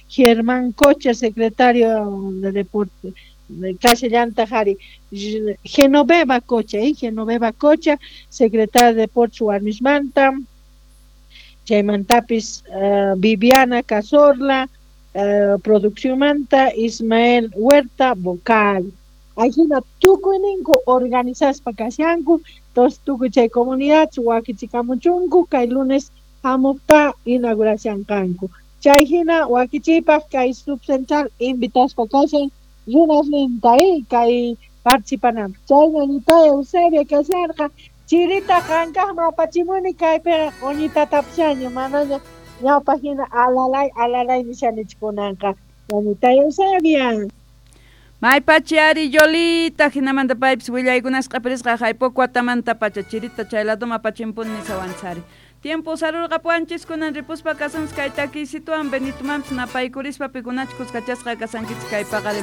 Germán Cocha, secretario de Deporte, kashallantaj ari Genoveva Cocha, Genoveva Cocha, secretaria de Deportes warmismanta, chaymantapis Viviana Cazorla, produccionmanta, Ismael Huerta, vocal. Ajina tukuyninku organizaspa kashanku, entonces tukuy chay comunidad wakichikamuchunku kay lunes hamukta inauguración kanku. Chay hina wakichiypaj kay subcentral invitaspa kashan runasninta kay participananpaj. Chay ñañita Eusebia kasharqa chirita qankaqman apachimuni kaypiqa q'uñitatapushaña manaña ñawpaq hina alalay alalay nishanichu kunanqa ñañita Eusebia. Maypachi ari Yolita, hinamanta paypis willaykunas q'apirisqa haypoco watamantapacha chirita chay laduma apachimpuni nisawanchari. Tiempo sarurqapuwanchis kunan ripuspa kasunchis kay takiysituwan Benitomanpis napaykurispa pikunachus kuskachasqa kasankichis kay paqarin.